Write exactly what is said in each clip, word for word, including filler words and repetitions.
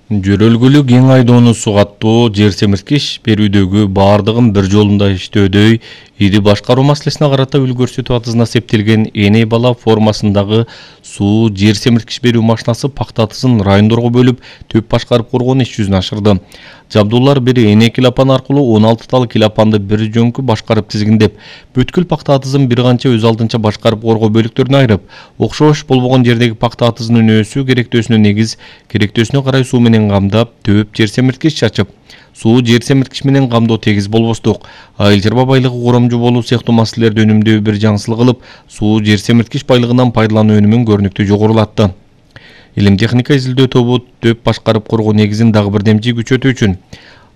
Жөрөлгүлүү кең айдоону сугаттоо жер семирткич берүүдөгү баардыгын бир жолунда иштөөдөй ири башкаруу маселесине карата үл көрсөтүү атызына септелген эней бала формасындагы суу жер семирткич берүү машинасы пакта атызын райондорго бөлүп төп башкарып коргон иш жүзүнө ашырды. Жабдуулар бир эней килапан аркылуу он алты тал килапанды бир жөнкү башкарып тизгиндеп, бүткүл пакта атызын бир канча өз алдынча башкарып коргоо бөлүктөрүнө айырып, окшош болбогон жердеги пакта атызынын өсүү керектөөсүнө негиз, керектөөсүнө карай суу менен камдап, төп жер семирткич чачып, суу жер семирткич менен камдоо тегиз болбостук, айыл чарба байлыгы коромжу болуу сыяктуу маселелерди өнүмдөө бир жаңсылык кылып, суу жер семирткич байлыгынан пайдалануу өнүмүн көрүнүктүү жогорулатты. Илим техника изилдөө тобу төп башкарып коргоо негизин дагы бир демчи күчөтүү үчүн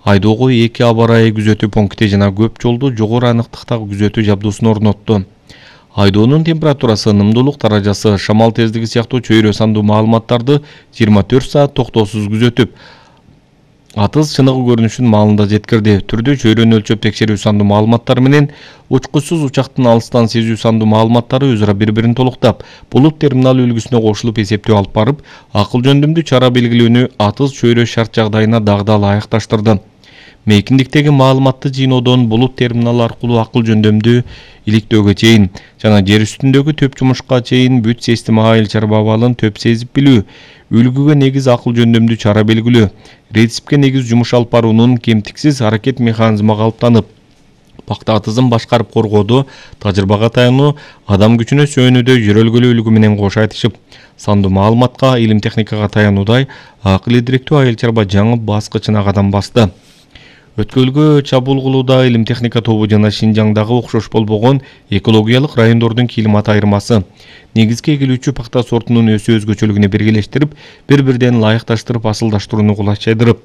айдоого эки аба ырайы күзөтүү пункти жана көп жолду жогору аныктыктагы күзөтүү жабдуусун орнотту. Айдоонун температурасы, ынымдуулук даражасы, шамал тездиги сыяктуу чөйрө сандуу маалыматтарды жыйырма төрт саат токтоосуз күзөтүп, атыз чыныгы көрүнүшүн маалында жеткирди. Түрдүү чөйрөнү өлчөп текшерүү сандуу маалыматтары менен учкучсуз учактын алыстан сезүү сандуу маалыматтары өзара бири-бирин толуктап, булут терминалы үлгүсүнө кошулуп эсептөө алып барып, акыл жөндөмдүү чара белгилөөнү атыз чөйрө шарт жагдайына дагы ылайыкташтырды. Мейкиндиктеги маалыматты жыйноодон булут терминалы аркылуу акыл жөндөмдүү иликтөөгө чейин жана жер үстүндөгү төп жумушка чейин бүт система айыл чарба абалын төп сезип билүү, үлгүгө негиз акыл жөндөмдүү чара белгилөө, реципке негиз жумуш алып баруунун кемтиксиз аракет механизми калыптанып, пакта атызын башкарып коргоодо тажрыйбага таянуу, адам күчүнө сүйөнүүдө жөрөлгүлүү үлгү менен кош айтышып, сандуу маалыматка, илим техникага таянуудай акыл идиректүү айыл чарба жаңы баскычына кадам басты. Өткөлгө чабуул кылууда илим техника тобу жана Шинжаңдагы окшош болбогон экологиялык райондордун климат айырмасы, негизги эгилүүчү пакта сортунун өсүү өзгөчөлүгүнө биргелештирип, бири-бирден ылайыкташтырып, асылдаштырууну кулайчайдырып,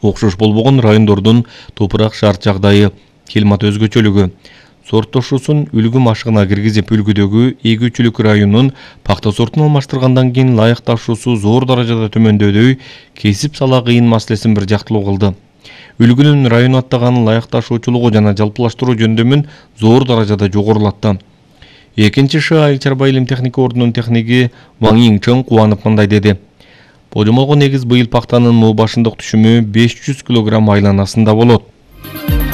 окшош болбогон райондордун топурак шарт жагдайы, климат өзгөчөлүгү, сорттошуусун үлгү машыгына киргизип, үлгүдөгү эгүүчүлүк районунун пакта сортун алмаштыргандан кийин ылайыкташуусу зор даражада төмөндөдөй, кесип сала кыйын маселесин бир жактылуу кылды. Үлгүнүн район аттаган ылайыкташуучулугу жана жалпылаштыруу жөндөмүн зор даражада жогорулатты. Экинчи Ш айыл чарба илим техника ордунун техниги Ваң Йиңчен кубанып мындай деди. Божомолго негиз быйыл пактанын муу башындык түшүмү беш жүз килограмм айланасында болот.